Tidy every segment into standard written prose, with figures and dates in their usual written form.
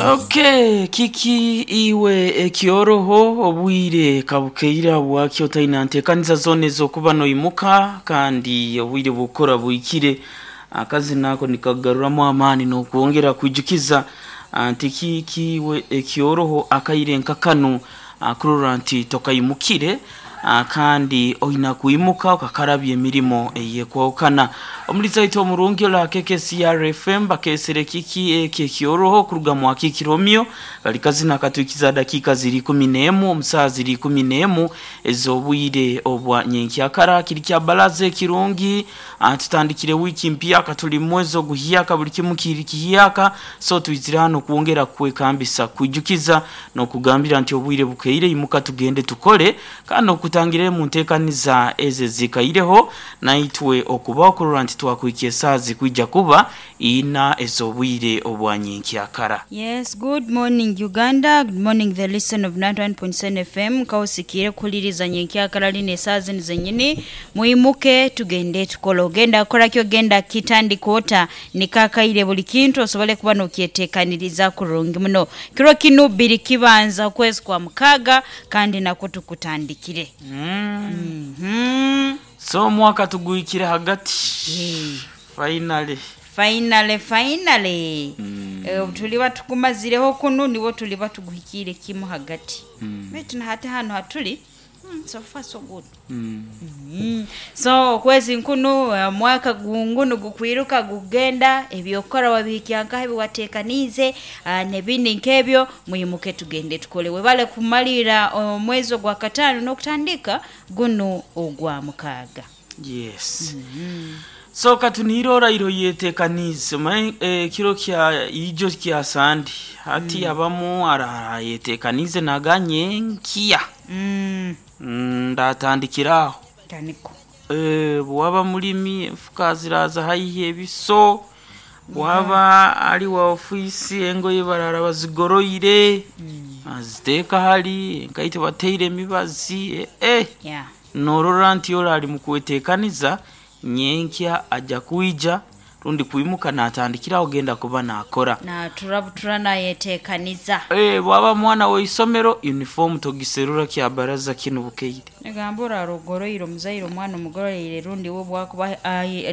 Okay, kiki iwe ekyoroho obwire kabukeire habwaki otaina ntekaniza zoona ez'okuba noimuka kandi obwire bw'okukora buhikire. Akazina ako nikakugaruramu amaani n'okwongera kwijukiza nti kiki iwe ekyoroho akaire nka kanu kurora nti tokaimukire kandi oina kwimuka okakarabya emirimo eyekwahukana. Omulizi waitu omurungi ori aha KKCR FM bakeesere kiki eki ekyoroho kuruga mwa Kiki Romeo kari kazina akatwikiza dakiika ziri ikumi n'emu omu saaha ziri ikumi n'emu ez'obwire obwa nyenkyakara. Kiri kya baraza ekirungi tutandikire wiiki mpyaka turi mu mwezi oguhyaka buri kimu kiri kihyaka so twizire hanu kwongera kukwekambisa kukwijukiza n'okugambira nti obwire bukeire imuka tugende tukore kandi n'okutangirira omu nteekaniza ezo ezikaireho naitwe okubaho kurora nti twakuhikya esaaha zikwija kuba ina ez'obwire obwa nyenkyakara. Yes good morning Uganda, good morning the listen of 91.7 FM nkaosikiire kuhuliriza nyenkyakara lino esaaha zinu zenyini mwimuke tugende tukole ogenda kukora ki ogenda kitandika ota niko akaire buli kintu osobole kuba nokyetekaniriza kurungi muno kiro kinu biri kibanza okwezi kwa mukaaga kandi nakwo tukutandikire. Mm. So omwaka tuguhikire hagati finally. Finally finally mm. Tuliba tukumazireho kunu niwo tuliba tuguhikiire kimu hagati baitu na hati hanu hatuli so far so good. So okwezi nkunu omwaka gungunu gukwiruka gukugenda ebyokukora wabihikya nkaha ebiwatekaniize n'ebindi nk'ebyo mwimuke tugende tukole webale kumaliira omwezi ogwakataano n'okutandika gunu ogwa mukaaga. Yes. So katuniire oraire oyetekaniize omanye ekiro kya ijo kya Sande hati abamu araara ayetekaniize naga nyenkya ndatandikira aho. Taniko. Bwaba mulimi enfuka ziraaza haihi ebiso, bwaba ari wa ofiisi engoye baraara bazigoroire baziteeka hari, enkaito bateire emibazi eh Yeah. Norora nti ori ari mukwetekaniza nyenkya aja kwija rundi kwimuka natandikira aho genda kuba nakora. Natura butura nayetekaniza. Bwaba mwana w'eisomero uniform togiserura kya baraza kinu bukeire. Nigamba oraara ogoroire omuzaire omwana omugororeire rundi we obwakuba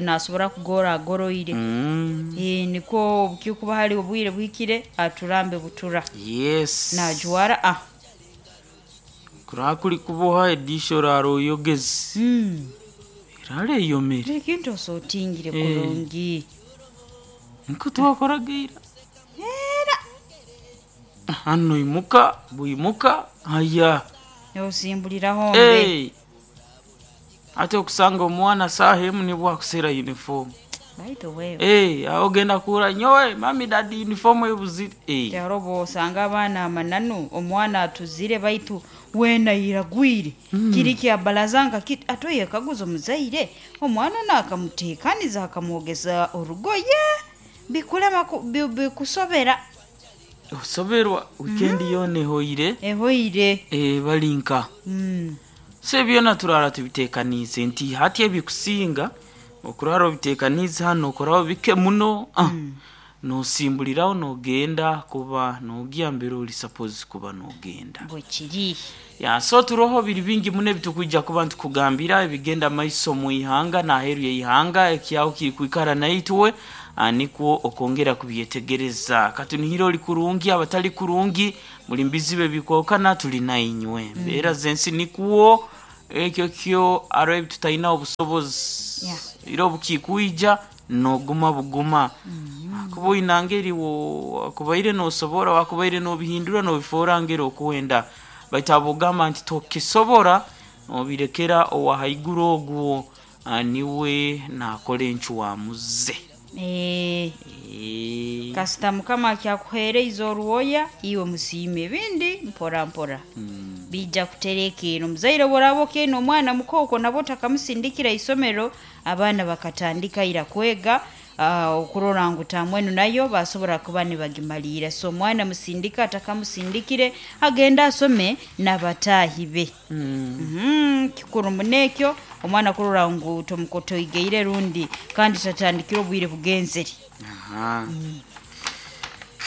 nasobora kugora agoroire. Nikwo obukikuba hari obwire buhikire aturambe butura. Yes. Najwara ah. Kuraba kuri kuboha edisha oraara oyogeze. Eraara eyomire. Ekintu osotingire kurungi. Nikwo twakoraga ira. Era. Hanu noimuka bwimuka haya. Nosimbuliraho mbe. Hey. Hati okusanga omwana saaha emu nibwo akuseera uniform. By the way. Hey, aho ogenda kuhurra nyowe mami dadi uniform ebuzire. Hey. Haro obwosanga abaana amananu omwana atuzire baitu weena airagwire kiri kya baraza nka kiti ate oyekaguza omuzaire omwana onu akamuteekaniza akamwogeza orugoye bikulema bikusobera. Osoberwa weekend yoona ehoire. Ehoire. Bari nka. So byona turara tubitekaniize nti hati ebikusinga okurara obitekaniize hanu nokoraho bike muno nosimburiraho nogenda kuba nogya mbere ori supposed kuba nogenda. Bwekiri. Ya so turoho biri bingi muno ebitukwija kuba nitukugambira ebigenda maiso omu ihanga n'aheeru y'eihanga ekyaho kiri kwikara naitwe nikwo okwongera kubyetegereza. Katunihire ori kurungi abatari kurungi muri mbizibu ebikwahukana turi nainywe. Embeera z'ensi nikwo ekyo kyo hariho ebi tutaine obusobozi. Ira obukikwija noguma buguma. Kuba oine ngeri wakubaire nosobora wakubaire nobihindura nobifoora ngeri okwenda. Baitu abogamba nti tokisobora nobirekera owa haiguru ogwo niwe nakora encwamu ze. Kasita mukama akyakuheereize orwoya iwe musiime ebindi mpora mpora bija kuterekeera omuzaire bworaba okeine omwana mukooko nabwo otakamusindikira isomero abaana bakatandika ira kwega okurora ngu tamwenu nayo basobora kuba nibagimaliira so omwana musindika atakamusindikire agende asome n'abataahi be. Kikuru muno ekyo omwana kurora ngu tomukotoigeire rundi kandi tatandikire obwire bugenzere.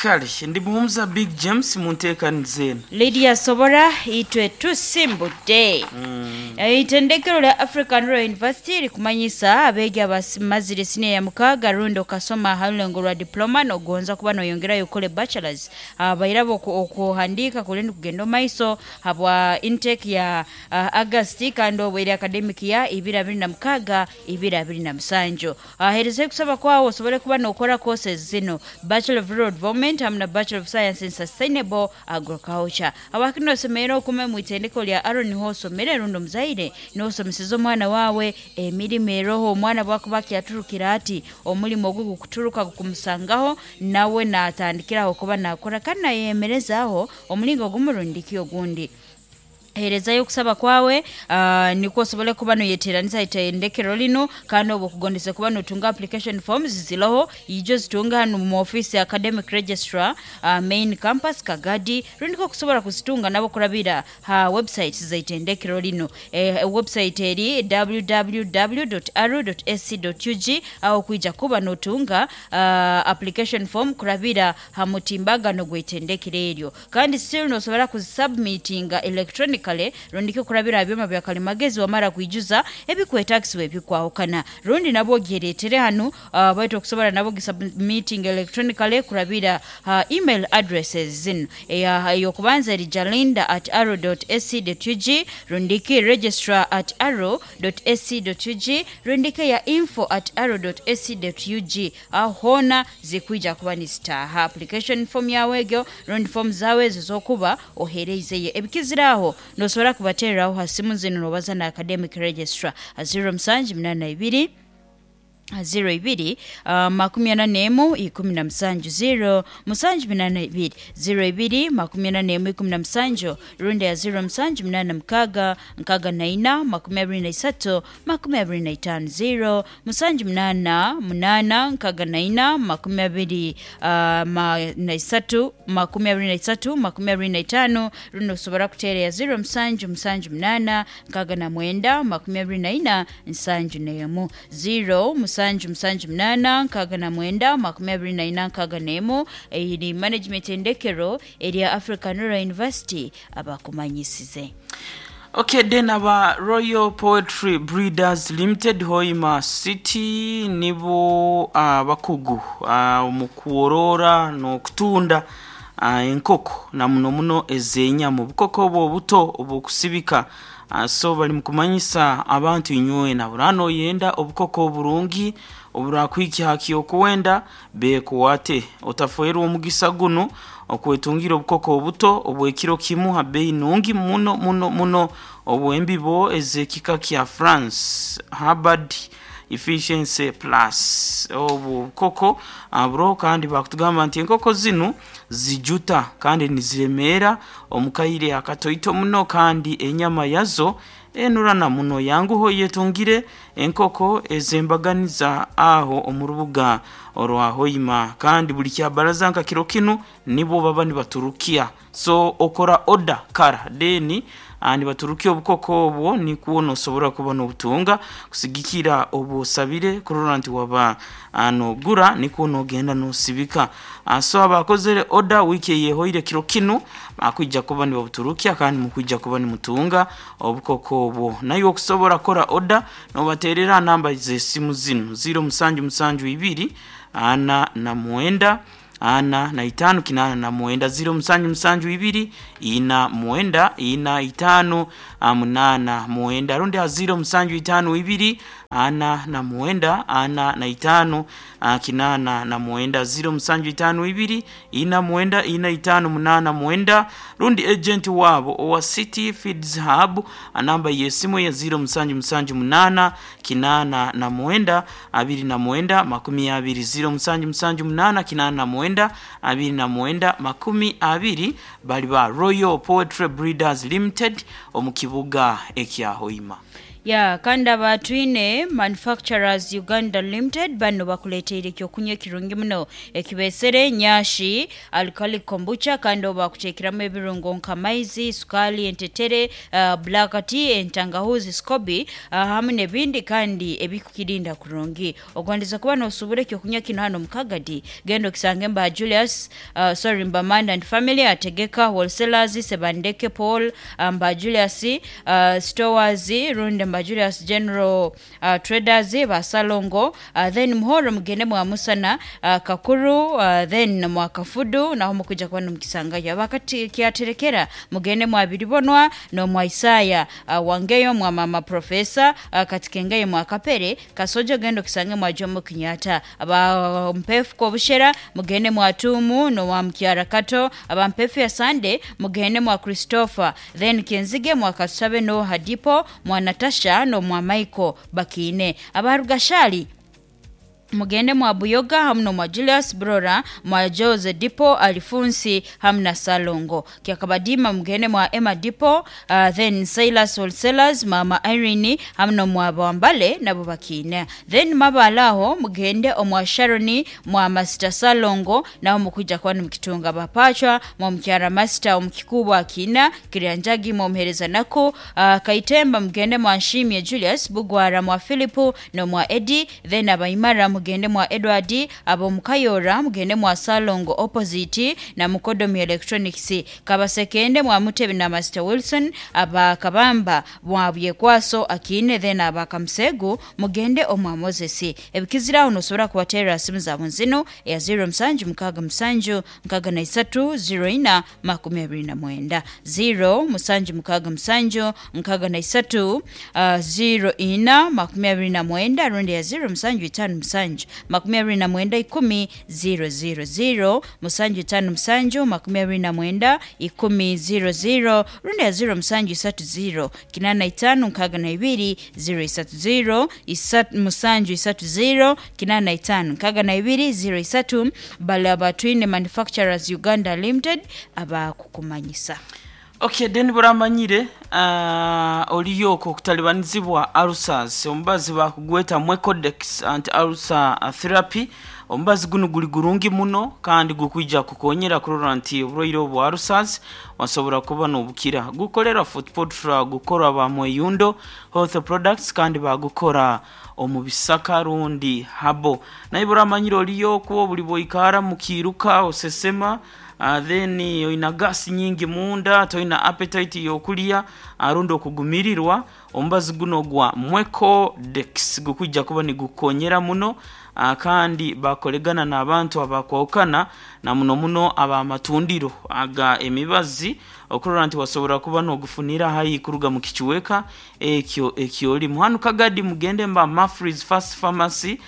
Kale ndi Muhumuza Big James munteekaniza eno. Lydia Sobora itwe tusimbudde. Eitendekero lya African Royal University likumanyisa abeegi abamazire siniya ya mukaaga rundi okasoma aha rulengo rwa diploma nogonza kuba noyongerayo okole bachelors bairabo okuhandiika kuri nikugenda omu maiso habwa intake ya August kandi obwo eri academic ya 2026 2027. Herezayo okusaba kwawe osobole kuba nokora courses zinu Bachelor of Rural Development hamu na Bachelor of Science in Sustainable Agriculture. Habwaki nosemerera okume mu itendeko lya Aaron niho osomere rundi omuzaire nosomeseza omwana wawe emirimo eroho omwana bwakuba akyaturukira ati omurimo ogu gukuturuka gukumusangaho nawe natandikiraho kuba nakora kandi nayemerezaho omulingo gumu rundi ki ogundi. Herezayo okusaba kwawe nikwo osobole kuba noyeteranisa itendekero linu kandi obwo okugondese kuba notunga application forms ziroho ijo zitunga hanu mu office ya academic registrar main campus Kagadi rundi ko kusobora kuzitunga nabo kurabira ha website z'itendekero linu. Website eri www.aru.ac.ug aho kwija kuba notunga application form kurabira ha mutimbagano gw'itendekero eryo kandi still nosobora kuzisubmitinga electronically rundi ko kurabira ha byoma bya kalimagezi wamara kwijuza ebikwetagisibwa ebikwahukana rundi nabwo ogyeretere hanu baitu okusobora nabo gisubmiting electronically kurabira ha email addresses zinu eyokubanza eri jalinda at aro.ac.ug rundiki registrar at aro.ac.ug rundiki ya info at aro.ac.ug aho hoona zikwija kuba nizitaaha application form yawe egyo rundi form zawe ezo zokuba ohereizeyo ebikizire aho nosobora kubatereraho ha simu zinu nobaza na academic registrar 0782 02 41 17 0 782 02 41 17 rundi ya 0 786 64 23 25 0 788 64 23 25 rundi osobora kuteera ya 0 778 69 24 71 0 778 69 24 61 eri management endekero erya African Rural University abakumanyisize. Okay, then aba Royal Poetry Breeders Limited Hoima City nibo abakugu omu kuworora n'okutunda enkoko na muno muno ez'enyama obukoko obwo obuto obw'okusibika so bari mukumanyisa abantu inywena burano oyenda obukoko oburungi oburakuhikya ha kyokuwenda bekuwate otafoerwa omugisa gunu okwetungira obukoko obuto obw'ekiro kimu ha bei nungi muno muno muno obw'embibo ez'ekika kya France Harvard Efficiency Plus obu bukoko buroho kandi bakutugamba nti enkoko zinu zijuta kandi niziremeera omu kaire akatoito muno kandi enyama yazo enurana muno yanguho yetungire enkoko ez'embaganiza aho omu rubuga orwa Hoima kandi buli kyabaraza nka kiro kinu nibo baba nibaturukia so okora oda kara then nibaturukia obukoko obwo nikwo nosobora kuba nobutunga kusigikira obwosabire kurora nti waba nogura nikwo nogenda nosibika so abakozere oda wiki eyehoire kiro kinu bakwija kuba nibabuturukia kandi mukwija kuba nimutunga obukoko obwo nayo okusobora kora oda nobaterera namba z'esimu zinu 0772 49 45 89 0772 49 45 89 rundi ha 0752 49 45 89 0752 49 45 89 rundi agent wabo owa City Feeds Hub namba y'esimu ya 0778 89 29 20 0778 89 29 20 bali ba Royal Poetry Breeders Limited omu kibuga ekya Hoima. Ya kandi aba Twine Manufacturers Uganda Limited bano bakuleteire ekyokunywa ekirungi muno ekibesere nyashi alcoholic kombucha, kandi obu bakuteekeramu ebirungo nka maizi, sukali, entetere, black tea, entangahuzi, scoby hamu n'ebindi kandi ebikukirinda kurungi. Ogondeze kuba nosubura ekyokunywa kinu hanu omu Kagadi, genda okisange mba Julius, sorry, mba Manda and Family, Ategeka Wholesalers, Sebandeke Paul, mba Julius Stores, rundi mba Julius General Traders, ba Salongo, then Muhoro mugende mwa Musana, Kakuru, then mwa Kafudu, naho mukwija kuba nimukisangayo. Abakati Kyaterekera mugende mwa Biribonwa n'omwa Isaya, Wangeyo mwa Mama Professor, Katikengeyo mwa Kapere, Kasojo genda okisange mwa Jomo Kenyatta. Aba Mpefu Kobushera mugende mwa Tumu n'omwa Mukyara Kato, aba Mpefu ya Sande mugende mwa Christopher, then Kenzige mwa Katusabe no Hadipo mwa Natasha n'omwa Michael Bakiine. Aba Rugashali mugende mwa Buyoga hamu n'omwa Julius Brora mwa Jose Dipo Alifunsi hamu na Salongo. Kyakabadima mugende mwa Emma Dipo, then Silas Wholesalers Mama Irene hamu n'omwa Bwambale nabo bakiine. Then Mabala aho mugende omwa Sharoni mwa Master Salongo naho mukwija kuba nimukitunga. Bapachwa mwa Mukyara Master omukikubwa akina Kiryanjagi mwa Muhereza nako, Kaitemba mugende mwa Nshimye Julius Bugwara mwa Philipu n'omwa Eddie, then Abaimara mugende mwa Edward, abo Mukayora mugende mwa Salongo opposite na Mukodomi Electronics, Kabasekende mwa Mutebi na Master Wilson, aba Kabamba mwa Byekwaso akine, then aba Kamsegu mugende omwa Moses. Ebikiziraho nosobora kubaterera simu zaabo nzino eya 0 musanju mukaaga musanju nkaaga na isatu 0 ina 29, 0 musanju mukaaga musanju nkaaga na isatu 0 ina 29, rundi ya 0 musanju itaano musanju 29 10 0 0 musanju itaano musanju 29 10 00, rundi ya 0 musanju isatu 0 85 62 0 isatu 0 musanju isatu 0 85 62 0 isatu. Bale aba Twine Manufacturers Uganda Limited abakukumanyisa. Okay, then buramanyire oliyo okwo okutalibanizibwa ulcers, omubazi bakugweta Mwecodex anti ulcer therapy. Omubazi guno guli gurungi muno kandi gukwija kukonyera kurora nti oburwaire obu ulcers wasobora kuba nobukira. Gukorera Footpotra, gukora ba Mweyundo Health Products, kandi bagukora omu bisaka rundi habo. Naye buramanyire oliyo okwo buli bwoikara mukiruka osesema, then oina gasi nyingi munda, toina appetite yokulya arundi okugumirirwa, omubazi guno gwa Mwecodex gukwija kuba nigukonyera muno, kandi bakoregana n'abantu abakwahukana na muno muno abamatundiro aga emibazi okurora nti wasobora kuba nogufunira haihi kuruga mu kichweka ekyo ekyolimu. Hanu Kagadi mugende mba Mafris Fast Pharmacy,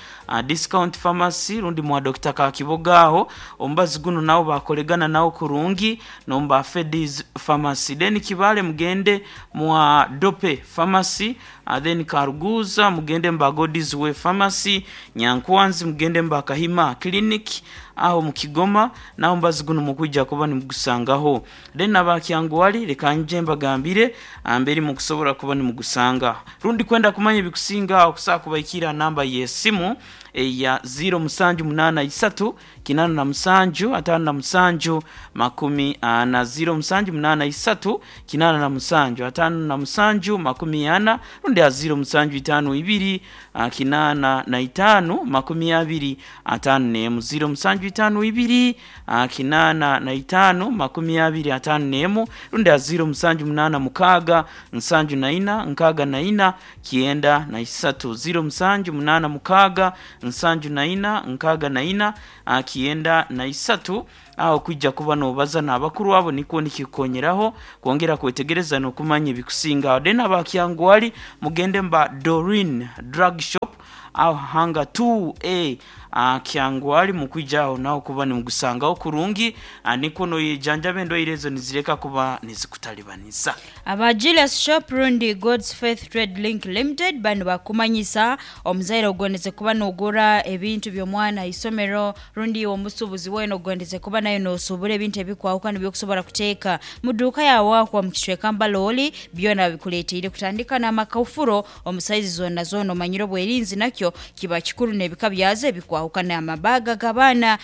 Discount Pharmacy rundi mwa Dr. Kakiboga aho omubazi guno nawo bakoregana nawo kurungi, nomba Fedis Pharmacy. Then Kibale mugende mwa Dope Pharmacy, then Karuguza mugende mba God's Way Pharmacy, Nyankwanzi mugende mba Kahima Clinic aho mukigoma, naho mbazi guno mukwija kuba nimugusangaho. Then abakyanguwali leka nje mbagambire amberi mukusobora kuba nimugusanga. Rundi kwenda kumanya ebikusinga okusobola kubaikira namba y'esimu eya 0 musanju munana isatu kinana na musanju atano na musanju 40, 0 musanju munana isatu kinana na musanju atano na musanju 40, rundi ya 0 musanju itano ibiri kinana na itano 25 nemu, 0 musanju itano ibiri kinana na itano 25 nemu, rundi ya 0 musanju munana mukaga nsanju na ina nkaga na ina 93, 0 musanju munana mukaga nsanju na ina nkaga na ina 93 aho kwijja kuba nobaza n'abakuru abo nikwo nikikonyeraho kwongera kwetegereza n'okumanya ebikusinga. Then abakyangwali mugende mba Dorin Drug Shop aho hanga 2A. Kyangwali mukwija aho naho kuba nimugusangaho kurungi, nikwo noyejanjaba endwaire ezo nizireka kuba nizikutalibaniza. Aba Julius Shop rundi God's Faith Trade Link Limited bano bakumanyisa omuzaire ogondeze kuba nogura ebintu by'omwana ha isomero, rundi iwe omusuubuzi weena ogondeze kuba nayo nosuubura ebintu ebikwahukana ebyokusobora kuteeka mu duuka yaawe aho omu kicweka Mbalooli. Byona babikuleeteire kutandika n'amakafuro omu saizi zoona zoona. Omanyire obwerinzi nakyo kiba kikuru n'ebika byazo ebikwahukana, amabaga g'abaana,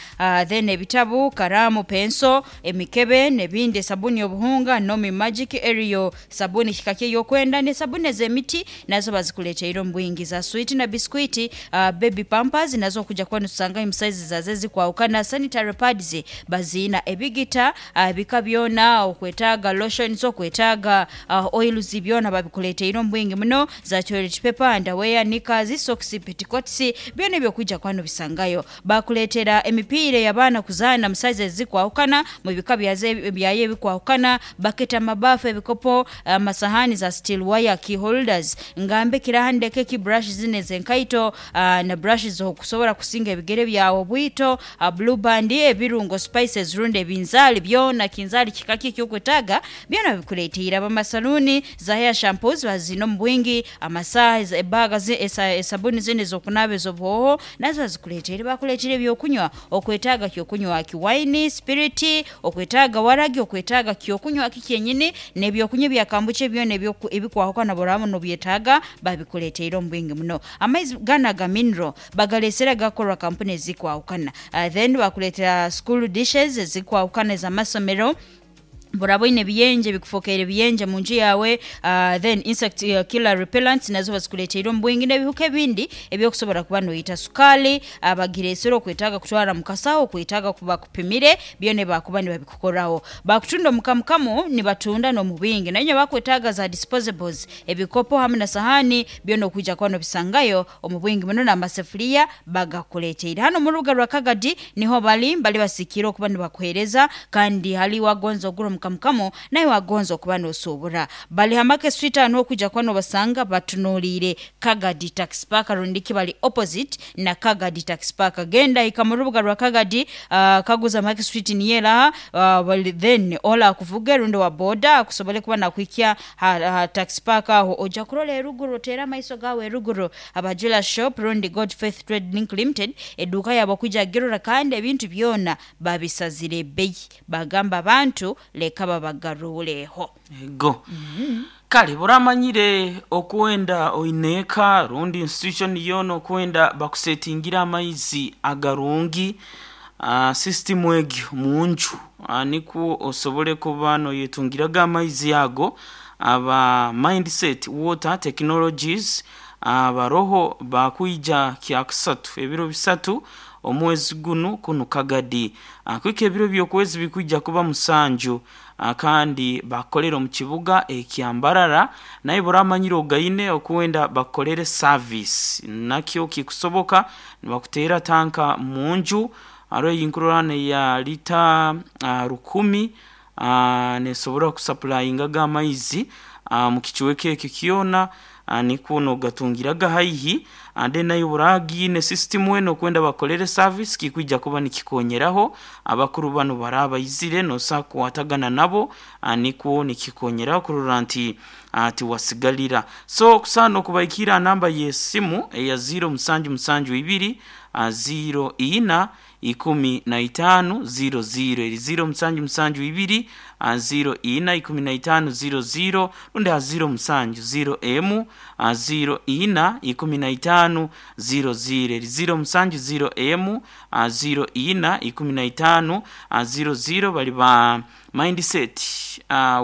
then ebitabu, karaamu, penso, emikebe n'ebindi, esabuni obuhunga, Nomi Magic, Ariel sabuni kika ki ey'okwenda, n'esabuni ez'emiti nazo bazikuleeteire omu bwingi, za switi na biskwiti, baby pampers nazo okuja kuba nitusangayo omu saizi zazo ezikwahukana, sanitary pads baziina, ebigita ebika byona, okwetaaga lotions, okwetaaga oils, byona babikuleeteire omu bwingi muno, za toilet paper, underwear, knickers, socks, petticoats, byona ebyo okwija kuba nobisangayo. Bakuleetera emipiira ey'abaana kuzaana mu saizi ezikwahukana, mu bika byayo ebikwahukana, baketi, amabaafu, ebikopo, amasahani za steel wire, key holders, ngambe kiraha ndeke ki, brush zinu ez'enkaito na brush z'okusobora kusinga ebigere byawe obwito, blue band, ebirungo spices rundi ebinzaali byona, kinzaali kika ki ekyokwetaaga byona babikuleeteire. Abamasaluuni za hair shampoos baziine omu bwingi, amasaaha, ebaaga, esabuni zinu ez'okunaaba ez'obuhooho nazo bazikuleeteire. Bakuleetera ebyokunywa, okwetaaga kyokunywa ki waini, sipiriti, okwetaaga waragi, okwetaaga kyokunywa ki kyenyini, n'ebyokunywa ebya kambucha byona ebikwahukana bw'oraaba nobyetaaga babikuleeteire omu bwingi muno. Amaizi ganu aga mineral bagaleesere agakukorwa kampuni ezikwahukana. Then bakuleetera school dishes ezikwahukana ez'amasomero. Bw'oraaba oine ebiyenje ebikufokeire ebiyenje mu nju yaawe, then insect killer repellents nazo bazikuleeteire omu bwingi n'ebihuka ebindi eby'okusobora kuba noita. Sukaali bagireesere okwetaaga kutwara mu kasaho, okwetaaga bakupimire, byona ebi baakuba nibabikukoraho. Bakutunda omu kamukamu, nibatunda n'omu bwingi. Nainywe abakwetaaga za disposables, ebikopo hamu na sahaani, byona okwija kuba nobisangayo omu bwingi muno, n'amasefuriya bagakuleeteire. Hanu omu rubuga rwa Kagadi niho bali, bali basikiire okuba nibakuheereza kandi hali wagonza ogura omu kamukamu nawe wagonza okuba nosuubura. Bali ha Market Street aho niho okwija kuba nobasanga batunuliire Kagadi Taxi Park rundi ki bali opposite na Kagadi Taxi Park. Genda hika mu rubuga rwa Kagadi, kaguza Market Street niyo eraha, then ola akuvuge rundi owa boda akusobole kuba nakuhikya ha Taxi Park aho. Oja kurora eruguru, oteere amaiso gaawe eruguru aba Jewelers Shop rundi God Faith Trade Link Limited eduuka yaabo kwija kugirora kandi ebintu byona babisazire ebbeyi. Bagamba abantu leka babagaruureho. Ego. Kale bw'oramanyire okwenda oine eka rundi institution yoona okwenda bakusetingire amaizi agarungi, system egyo munju nikwo osobole kuba noyetungiraga amaizi ago. Aba Mindset Water Technologies baroho bakwija Kyakusatu ebiro bisatu omwezi gunu kunu Kagadi. Kwika ebiro by'okwezi bikwija kuba musanju kandi bakukolera omu kibuga ekya Mbarara. Naye bw'oramanyire ogaine okwenda bakukolere service nakyo kikusoboka, nibakuteera tanka munju. Haroho eyinkurora neya lita rukumi, nesobora kusapulayingaga amaizi omu kicweka ekyo kyona, nikwo nogatungiraga haihi. Then naye bw'oragiine system enu okwenda bakukolere service, kikwija kuba nikikonyeraho. Abakuru banu baraba baizire nosobola kukwatagana nabo, nikwo nikikonyeraho kurora nti tiwasigalira. So okusaana okubahikiira ha namba y'esimu eya ziro musanju musanju ibiri ziro ina ikumi na itaano ziro ziro, eri ziro musanju musanju ibiri ziro ina ikumi na itaano ziro ziro, rundi ha ziro musanju ziro emu ziro ina ikumi na itaano ziro ziro, eri ziro musanju ziro emu ziro ina ikumi na itaano ziro ziro. Bali ba Mindset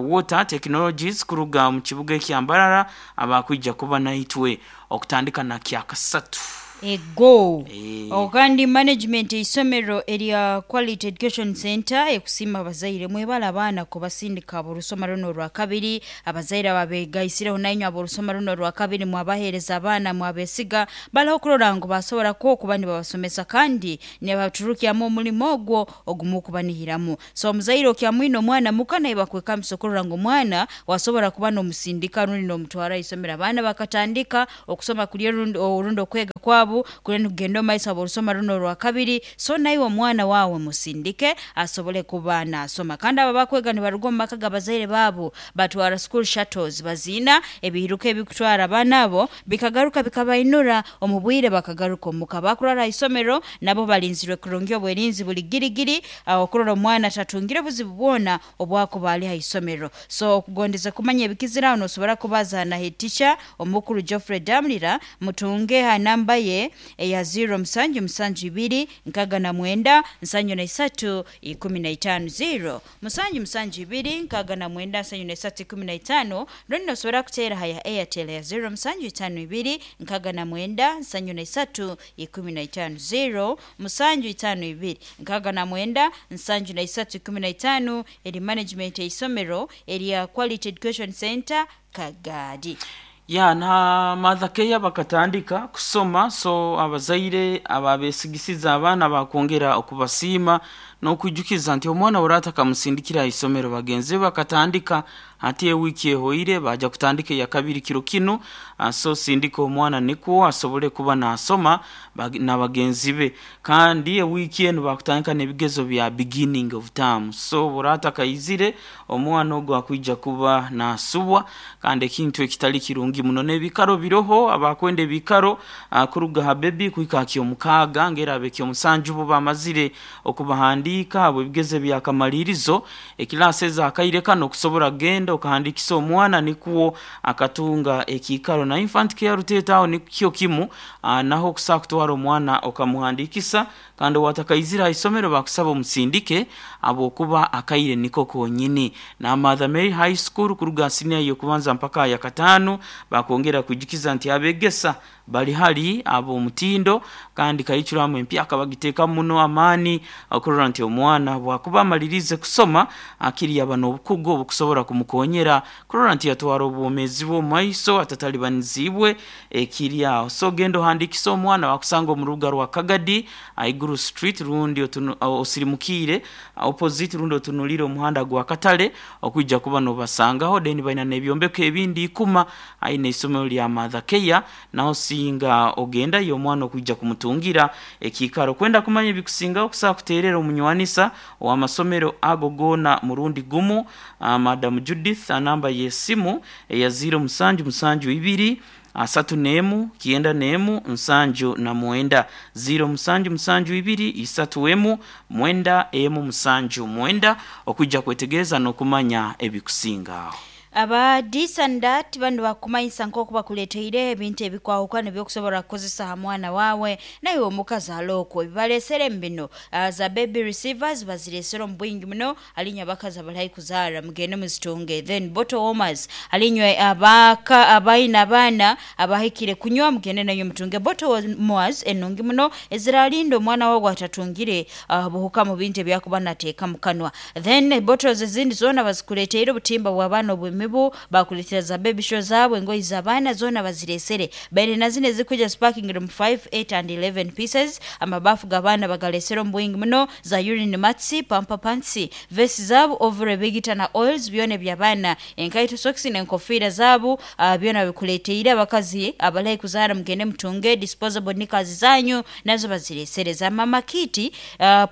Water Technologies kuruga omu kibuga ekya Mbarara abakwija kuba naitwe okutandika na Kyakasatu. Ego. Kandi management eisomero erya Quality Education Centre ekusiima abazaire mwebale abaana kubasindika ab'orusoma runo orwakabiri. Abazaire ababegaisireho nainywe ab'orusoma runo orwakabiri mwabaheereza abaana mwabesiga baleho okurora ngu basobora kwo okuba nibabasomesa kandi nibaturukyamu omulimo ogwo ogumukubanihiramu. So omuzaire okyamwine omwana muka naye bakwekambisa okurora ngu omwana wasobora kuba n'omusindika rundi n'omutwara ahaisomero. Abaana bakatandika okusoma kuri orundi okwega kwabo. kwabu kuriyo nikugenda omu maiso habw'orusoma runo orwakabiri. So naiwe omwana waawe musindike asobole kuba naasoma. Kandi abo abakwega nibaruga omu maka g'abazaire baabo batwara school shuttles, baziina ebiiruka ebikutwara abaana abo bikagaruka bikabainura omu bwire bakagaruka omuka. Abakurara ha isomero nabo balinzirwe kurungi, obwerinzi buli girigiri okurora omwana tatungire buzibu bwona obwakuba ali ha isomero. So okugondeza kumanya ebikizire aho nosobora kubaza na head teacher omukuru Geoffrey Damulira, mutunge ha namba ye eya 0 musanju musanju ibiri nkaga na mwenda nsanju na isatu ikumi na itaano, 0 musanju musanju ibiri nkaga na mwenda nsanju na isatu ikumi na itaano. Rundi nosobora kuteera ha ya Airtel ya 0 musanju itaano ibiri nkaga na mwenda nsanju na isatu ikumi na itaano, 0 musanju itaano ibiri nkaga na mwenda nsanju na isatu ikumi na itaano. Eri management eisomero erya Quality Education Center Kagadi. Ya na Mother Care bakatandika kusoma, so abazaire ababesigisiza abaana bakwongera okubasiima n'okwijukiza nti omwana orata akamusindikira aha isomero. Bagenzi be bakatandika hati ewiiki ehoire, baja kutandika eya kabiri kiro kinu. So sindika omwana nikwo asobole kuba nasoma na bagenzi be. Kandi ewiiki enu bakutandika n'ebigezo bya beginning of term, so orata akaizire omwana ogwo akwija kuba nasubwa, kandi ekintu ekitali kirungi muno. N'ebikaro biroho abakwenda ebikaro kuruga ha bebi kuhika ha kyomukaaga, ngera abe kyomusanju bo bamazire okubahandiika abo ebigezo ebyakamalirizo ekilasi ezakaire kano okusobora kugenda okahandikisa omwana nikwo akatunga ekiikaro. Na infant care Ruteeta aho nikyo kimu, naho okusobola kutwara omwana okamuhandikisa. Kandi owatakaizire ha isomero bakusaba omusindike habwokuba akaire niko konyini. Na Mother Mary High School kuruga ha siniya y'okubanza mpaka aha yakataano bakwongera kwijukiza nti abegesa bali hali ab'omutindo, kandi curriculum empyaka bagiteekamu muno amaani okurora nti omwana bwakuba amaliriize kusoma akiri yaba n'obukugu obukusobora kumukonyera kurora nti yatwara obwomeezi bwe omu maiso atatalibaniziibwe ekiri aho. So genda ohandiikise omwana, wakusanga omu rubuga rwa Kagadi Aiguru Street, rundi osirimukiire opposite, rundi otunuliire omuhanda gwa Katale okwija kuba nobasangaho. Then baina n'ebyombeko ebindi ikuma aine isomero lya Mother Care, naho singa ogendayo omwana okwija kumutungira ekiikaro. Kwenda kumanya ebikusingaho okusobola kuteerera omunywanisa ow'amasomero ago goona murundi gumu, Madam Judith, namba y'esimu eya 0 musanju musanju ibiri asatu n'emu kyenda n'emu nsanju na mwenda, 0 musanju musanju ibiri isatu emu mwenda emu musanju mwenda, okwija kwetegereza n'okumanya ebikusinga aho. Aba this and that banu bakumanyisa nk'oku bakuleeteire ebintu ebikwahukana ebyokusobora kukozesa ha mwana waawe naiwe omukazi okwo. Ebibalesere mu bino, za baby receivers baziresere omu bwingi muno halinywe abakazi abali haihi kuzaara, mugende muzitunge. Then bottle warmers, halinywe abaka abaine abaana abahikire kunywa, mugende nainywe mutunge bottle warmers enungi muno eziralinda omwana wawe atatungire buhuka mu bintu ebyakuba nateeka mu kanwa. Then bottles ezindi zoona bazikuleteire, obutimba bw'abaana obw'emibu bakuleetera, za baby show zaabo, engoyi z'abaana zoona baziresere. Baine na zino ezikwija zipakingire mu 5, 8 and 11 pieces. Amabafu g'abaana bagalesere omu bwingi muno, za urine mats, pamper pants, vest zaabo, overall ebigita na oils byona eby'abaana, enkaito, socks n'enkofiira zaabo, byona babikuleteire. Abakazi abali haihi kuzaara mugende mutunge disposable knickers zanyu, nazo baziresere. Za mama kit,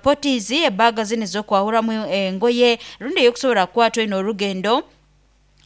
potties, ebaga zinu ez'okwahuramu engoye rundi ey'okusobora kukwata oine orugendo,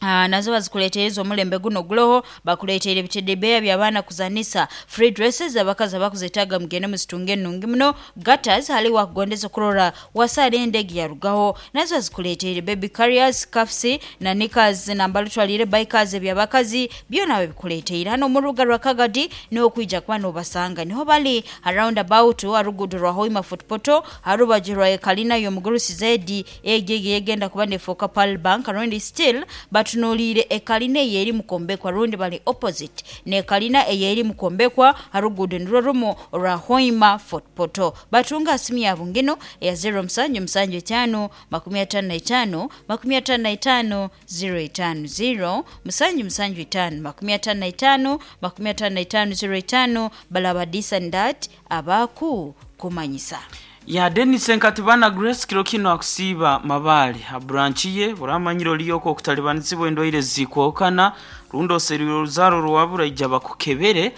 nazo bazikuleteire ez'omulembe guno oguroho. Bakuleteire ebitedebeya by'abaana kuzanisa, free dresses abakazi abakuzetaaga mugende muzitunge enungi muno. Gutters hali wakugondeza okurora wasaara endege yarugaho, nazo bazikuleteire. Baby carriers, cuffs na knickers nambali otwaliire bikers eby'abakazi byona babikuleteire. Hanu omu rubuga rwa Kagadi niho okwija kuba nobasanga, niho bali ha round about ha ruguudo rwa Hoima Fort Portal, ha rubaju rwa ekalina y'omugurusi Zedi egyo eyegenda kuba neefooka Pearl Bank, rundi still batunuliire ekalina eyeri mukwombekwa, rundi bali opposite n'ekalina eyeri mukwombekwa ha ruguudo nirwo rumu orwa Hoima Fort Portal. Batunga ha simu yaabo nginu eya 0 musanju musanju itaano 55 55 05, 0 musanju musanju itaano 55 55 05. Balaba this and that abaku kumanyisa. Ya Denis Nkatibana Grace kiro kino akusiiba Mabaale ha branch ye oramanyire oriyo okwo okutalibanizibwa endwaire zikwokana rundi oserwire oruzaaro rwabura ija bakukebere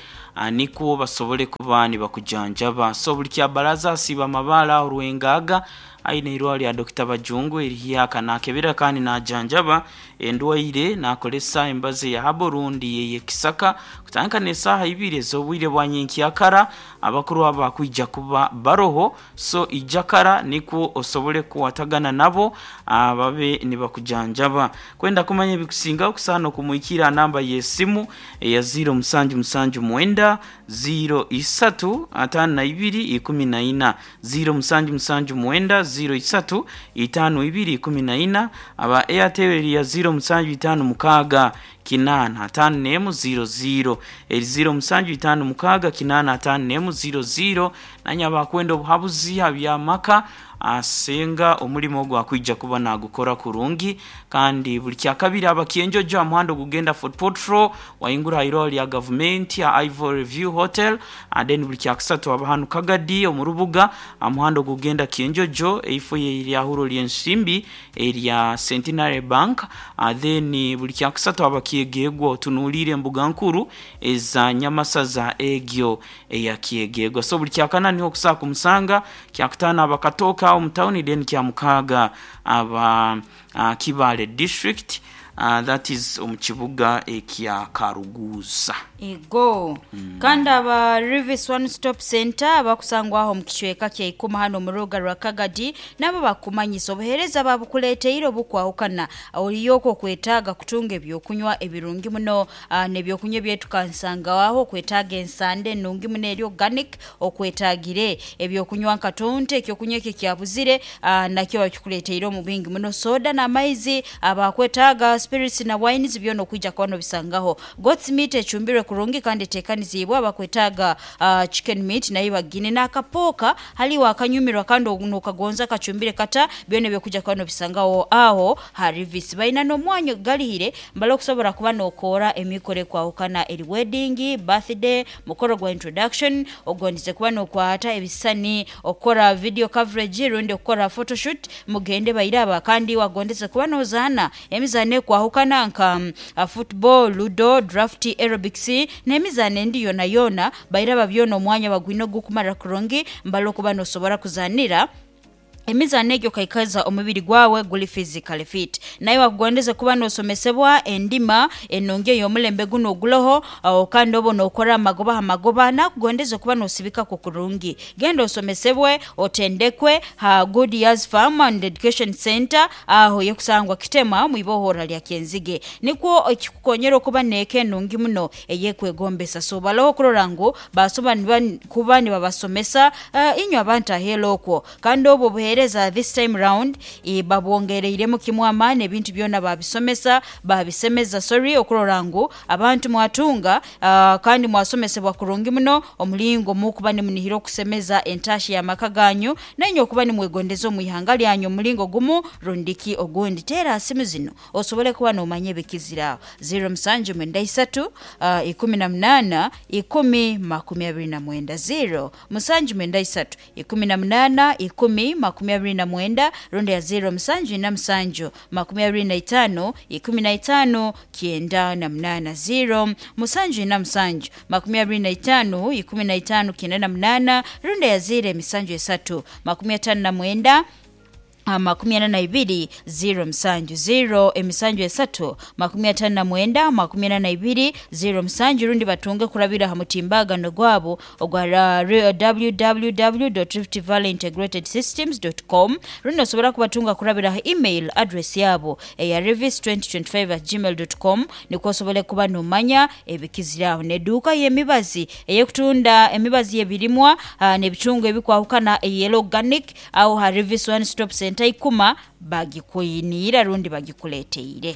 nikwo basobole kuba nibakujanjaba. So buli kyabaraza asiiba Mabaale aho Rwengaga aine eirwaro lya Dokita Bajungu erihyaka nakebera kandi najanjaba endwaire nakoresa embazi eya habo rundi ey'ekisaka kutandika n'esaaha ibiri ez'obwire bwa nyenkyakara abakuru aba bakwija kuba baroho so ija kara nikwo osobole kukwatagana nabo babe nibakujanjaba. Kwenda kumanya ebikusingaho kusaana okumwikira aha namba y'esimu eya ziiro musanju musanju mwenda ziiro isatu ataano na ibiri ikumi na ina, ziiro musanju musanju mwenda ziiro isatu itaano ibiri ikumi na ina. Aba Airtel eri ya ziiro musanju itaano mukaaga kinaana ataano n'emu ziiro ziiro, eri ziiro musanju itaano mukaaga kinaana ataano n'emu ziiro ziiro. Nanye abakwenda obuhabuzi aha by'amaka asenga omurimo ogu akwija kuba nagukora kurungi kandi buli kyakabiri aba Kyenjojo aha muhanda ogugenda Fort Portal waingura aha irwaro rya gavumenti aha Ivory View Hotel then buli kyakusatu aba hanu Kagadi omu rubuga aha muhanda ogugenda Kyenjojo eifo y'eryahuro ry'ensimbi erya Centenary Bank then buli kyakusatu aba Kyegegwa otunuliire embuga nkuru eza Nyamasaza egyo eya Kyegegwa. So buli kyakana niho okusobola kumusanga, kyakutaano aba Katooke agho mu tawuni then kyamukaaga aba Kibaale district that is omu kibuga ekya Karuguuza. Ego. Kandi aba Rivis One Stop Centre abakusangwa aho omu kicweka kya Ikoma hanu omu rubuga rwa Kagadi nabo bakukumanyisa obuhereza babukuleteire obukwahukana. Oriyo okwo okwetaaga kutunga ebyokunywa ebirungi muno n'ebyokunywa ebyetukansanga aho okwetaaga ensanda enungi muno eri organic, okwetaagire ebyokunywa nka tonto, ekyokunywa ekyo ekyabuzire nakyo bakikuleteire omu bwingi muno, soda n'amaizi, abakwetaaga spirits na wines byona okwija kuba nobisangaho. Goat's meat ecumbirwe kurungi kandi eteekaniziibwe, abakwetaaga chicken meat nayo bagiine, n'akapooka haliwo akanyumirwa kandi nokagonza kacumbire kata, byona ebyo okwija kuba nobisangaho aho ha Rivis. Baina n'omwanya ogugalihire mbali okusobola kuba nokoora emikoro ekwahukana eri wedding, birthday, mukoro gwa introduction, ogondize kuba nokwata ebisisani, okukora video coverage rundi okukora photoshoot, mugende bairaba. Kandi wagondeze kuba nozaana emizaano ekwahukana nka football, ludo, draft, aerobics n'emizaano endi yonayona, bairaba byona omwanya bagwine ogukumara kurungi mbali okuba nosobora kuzaanira emizaano egyo okaikaza omubiri gwawe guli physically fit. Naiwe wakugondeze kuba nosomesebwa endima enungi ey'omulembe gunu oguloho kandi obe nokora amagoba ha magoba, nakugondeze kuba nosibikaku kurungi. Genda osomesebwe, otendekwe ha Good Years Farm and Education Centre agho yekusangwa Kitema mu ibohora lya Kyenzige. Nikwo ekikukonyera okuba n'eka enungi muno ey'ekwegombesa. So baloho okurora ngu basobola kuba nibabasomesa inywe abantu aheeru okwo. Kandi obwo obuheereza this time round babwongereiremu kimu amaani ebintu byona babisomesa, babisemeza sorry, okurora ngu abantu mwatunga kandi mwasomesebwa kurungi muno omulingo mukuba nimunihira okusemeza entaahya y'amaka ganyu nainywe okuba nimwegondeza omu ihanga lyanyu omulingo gumu rundiki ogundi. Teera aha simu zino osobole kuba nomanya ebikizire aho, ziiro musanju mwenda isatu, 18, 1029, ziiro musanju mwenda isatu, 18, 1029, rundi ya ziiro musanju ina musanju, 25, 15, 98, ziiro musanju ina musanju, 25, 15, 98, rundi ya ziiro emisanju esatu, 59, 42, ziiro musanju, ziiro emisanju esatu, 59, 42, ziiro musanju, rundi batunge kurabira aha mutimbagano gwabo ogwa www.riftvalleyintegratedsystems.com, rundi nosobora kubatunga kurabira aha email address yabo eya rivis2025@gmail.com nikwo osobole kuba nomanya ebikizire aho. N'eduuka y'emibazi ey'okutunda emibazi y'ebirimwa n'ebicungwa ebikwahukana ey'Yellow Organic agho ha Rivis One Stop Centre Ikuma bagikwiniire rundi bagikuleteire.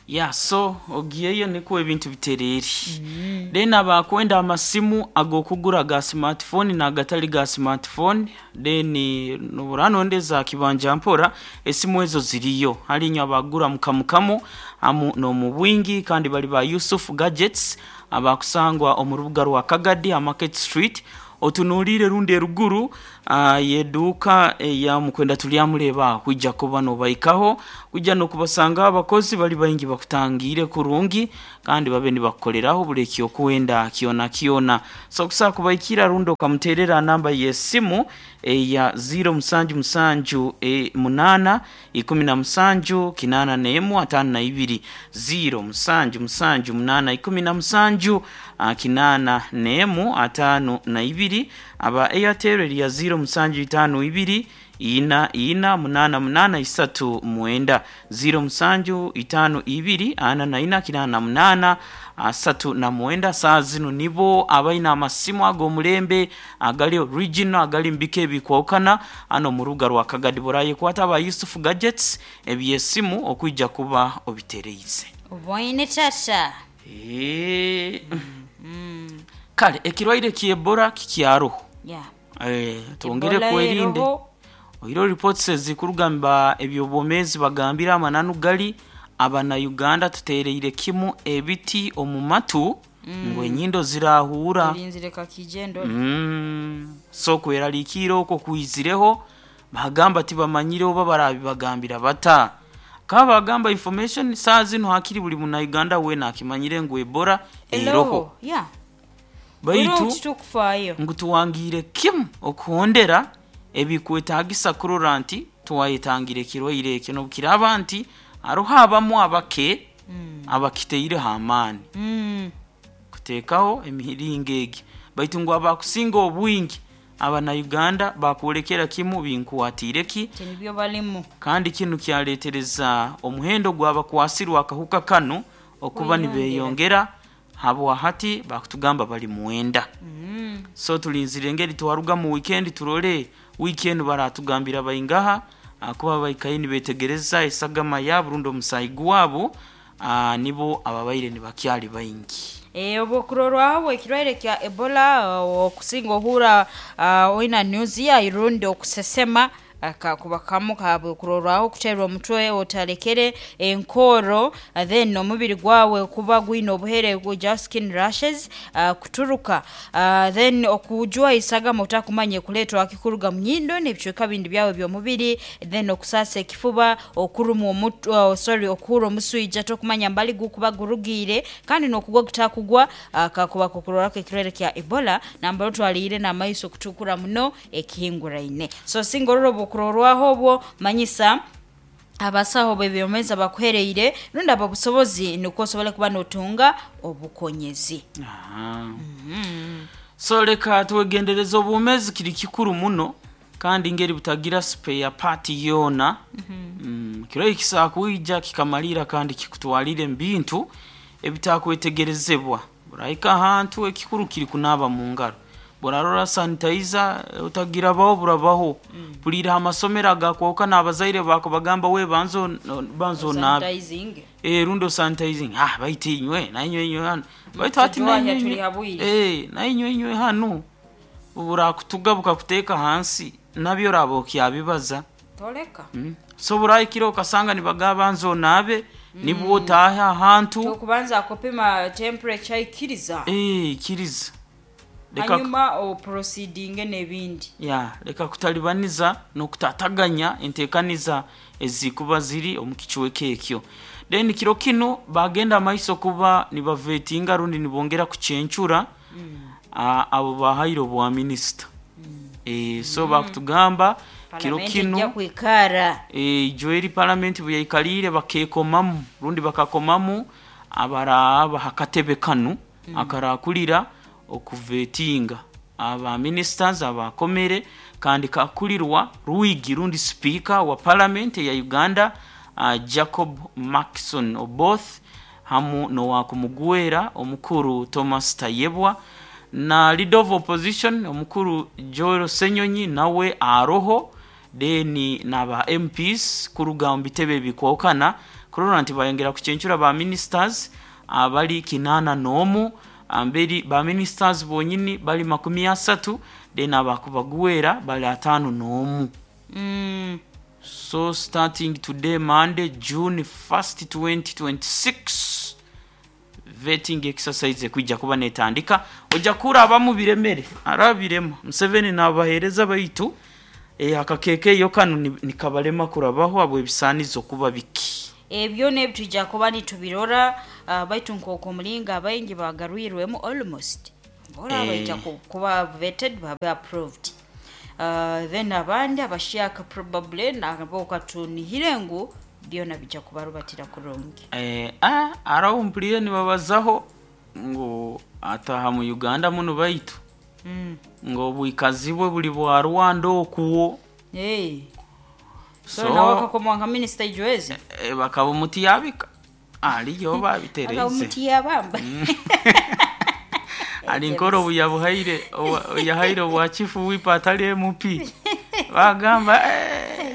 Yeah so ogiyeyo nikwo ebintu bitereere. Then abakwenda amasimu ag'okugura ga smartphone n'agatali ga smartphone then nobura nondeza aha kibanja mpora esimu ezo ziriyo. Hali inywe abagura mu kamu kamu hamu n'omu bwingi kandi bali ba Yusuf Gadgets abakusangwa omu rubuga rwa Kagadi ha Market Street. Otunuliire rundi eruguru y'eduuka eya Mukwenda Turyamureeba kwija kuba nobaikaho kwija n'okubasangaho abakozi bari baingi bakutangiire kurungi kandi babe nibakukoreraho buri ekyokwenda kyona kyona. So okusobola kubaikira rundi okamuteerera aha namba y'esimu eya ziiro musanju musanju munaana 17 81 52, ziiro musanju musanju munaana 17 81 52. Aba Airtel eri ya ziiro musanju itaano ibiri ina ina munaana munaana isatu mwenda, ziiro musanju itaano ibiri ana na ina 88 39. Saaha zinu nibo abaine amasimu ag'omulembe agali original agali mu bika ebikwahukana hanu omu rubuga rwa Kagadi. Burayekwata aba Yusuf Gadgets eby'esimu okwija kuba obitereize. Oboine tata. Eeh. Kale ekirwaire ky'Ebola kikyaroho. Yeah. Twongere Ebola kwerinde. eroho. Oihireho reports ezikuruga mu ba eby'obwomeezi bagambire amananu gali abana-Uganda tuteereire kimu ebiti omu matu ngu enyindo zirahuura. Turinzire kakije ndore. So kweraliikirra okwo kwizireho bagamba tibamanyire oba barabibagambira bata. Bakaba bagamba information saaha zinu hakiri buri muna-Uganda weena akimanyire ngu Ebola eroho. Eroho. Yeah. Baitu Buriho titukufaayo. ngu tuwangiire kimu okuhondera ebikwetaagisa kurora nti twayetangira ekirwaire ekyo n'obukiraaba nti haroho abamu abake abakiteireho amaani kuteekaho emiringo egi baitu ngu abakusinga obwingi abana-Uganda bakwolekera kimu binkwatiire ki Ti nibyo barimu. kandi kinu kyaleetereza omuhendo gw'abakwasirwe akahuka kanu okuba Kweyongera. nibeyongera habwa hati bakutugamba bali mwenda. So tulinzire engeri twaruga mu weekend turole wiiki enu baratugambira baingaha ahakuba baikaire nibetegereza esagama yaabo rundi omusaayi gwabo nibo ababaire nibakyali baingi. Obwokurorwaho ekirwaire kya Ebola okusinga ohuura oina nausea rundi okusesema kakuba kamu kabwokurorwaho okuteerwa omutwe otarekere enkooro then omubiri gwawe kuba gwine obuhere just skin rashes kuturuka then okujwa esagama otakumanya ekuleetwa ki kuruga mu nyindo n'ebicweka bindi byawe by'omubiri then okusaasa ekifuba okurumwa omutwe sorry okuhurra omuswija tokumanya mbali gukuba gurugiire kandi n'okugwa gutakugwa kakuba kokurorwaho ekirwaire kya Ebola nambere otwaliire n'amaiso kutukura muno ekihinguraine. So singa orora obwokurorwaho obwo manyisa abasaho b'ebyomezi abakuhereire rundi ab'obusobozi nukwo osobole kuba n'otunga obukonyezi. Aha. So leka twegendereze obwomeezi kiri kikuru muno kandi ngeri butagira spare part yoona. Kirwaire kisobola kwija kikamalirra kandi kikutwalire omu bintu ebitakwetegerezebwa. Orahika ahantu ekikuru kiri kunaaba mu ngaro. Bworarora sanitizer otagirabaho burabaho. Mpuriire aha masomero agakwahukana abazaire bakubagamba we banza banza onaabe. Sanitizing. Rundi osanitizing. Baitu inywe nainywe inywe hanu. Baitu hati Tujwahya nainywe turi inywe. habwire. Nainywe inywe hanu. Burakutuga bukakuteeka hansi nabyo oraba okyabibaza. Toleka. So burahikire okasanga nibagamba banza onaabe nibwo otaahe ahantu. Tokubanza kupima temperature ikiriza. Ikiriza. Leka Hanyuma oproceedinge n'ebindi. ya leka kutalibaniza n'okutataganya enteekaniza ezikuba ziri omu kicweka ekyo. Then kiro kinu bagenda amaiso kuba nibavetinga rundi nibongera kucencura abo bahaire obwa minisita. So bakutugamba kiro Palamenti ejja kinu kwikara. ijo eri palamenti bweyaikaliire bakeekomamu rundi bakakomamu abaraaba ha katebe kanu akarakurira okuvetinga aba ministers abakomere kandi kakurirwa Rwigi rundi speaker wa parliament ya Uganda Jacob Markson Oboth hamu n'owakumugwera omukuru Thomas Tayebwa na leader of opposition omukuru Joel Ssenyonyi nawe aroho then n'aba MPs kuruga omu bitebe ebikwahukana kurora nti bayongera kucencura ba ministers abali 81 amberi ba ministers bonyini bali 30 then abakubagwera bali 51. So starting today Monday June 1st 2026 Vetting exercise ekwija kuba netandika oja kurabamu biremere arabirema Museveni nabahereza baitu akakekeyo kanu nikabarema kurabaho habw'ebisaanizo kuba biki. Ebyo n'ebi twija kuba nitubirora baitu nk'oku omulingo abaingi bagarwirwemu almost boona baija kuba vetted babe approved. Then abandi abashyaka probably nabo katunihire ngu byona bija kubarubatira kurungi. Haraho mpuriire nibabazaho ngu ataaha mu Uganda munu baitu ngu obwikazi bwe buri bwa Rwanda okwo. So, so nawe akakomwa nka minisita Ijwezi? Bakaba omuti yabika ariyo babitereize. Akaba omuti yabamba. Ari nkora obu yabuhaire yahaire obwa chief whip atari MP. Bagamba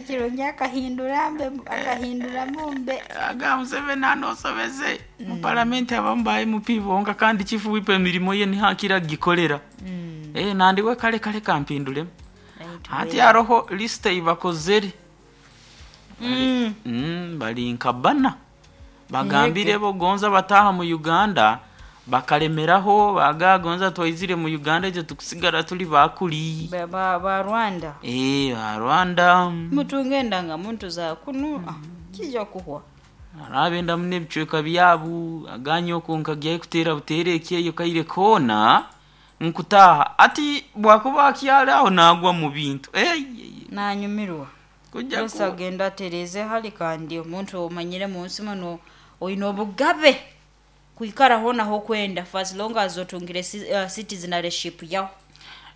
Kirungi akahindura mbe akahinduramu mbe. Agamba Museveni anosobeze mu paramenti abamu ba MP bonka kandi chief whip emirimo ye niho akira agikorera. Nandi we kare kare kampinduremu. Hati hariho list ei bakozire. Bari nka bana. Bagambire bo gonza bataaha mu Uganda bakaremeraho baga gonza twaizire mu Uganda itwe tukusigara turi bakuri. Ba Rwanda. Ba Rwanda. Mutunge endangamuntu za kunu kija kuhwa. Hariho abendamu n'ebicweka byabu aganye okwo nkagyayo kuteera buteera ekyeyo kaire koona nkutaaha ati bwakuba akyari aho naagwa mu bintu. Nanyumirwa. Kujja Yesu agenda atereeze hali kandi omuntu omanyire mu nsi muno oine obugabe kwikara hoona ah'okwenda for as long as otungire citizenship yaho.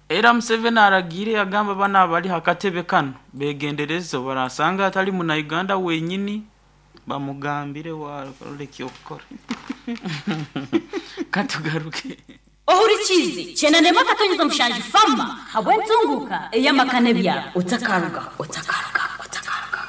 Era Museveni aragiire yagamba banu abari aha katebe kanu begendereze obarasanga atari muna Uganda wenyini bamugambire warora eky'okukora. Katugaruke. Ohurikiize kyenda 4.7 Fama habw'entunguuka ey'amaka n'ebyaro. Otakarugaho, otakarugaho, otakarugaho.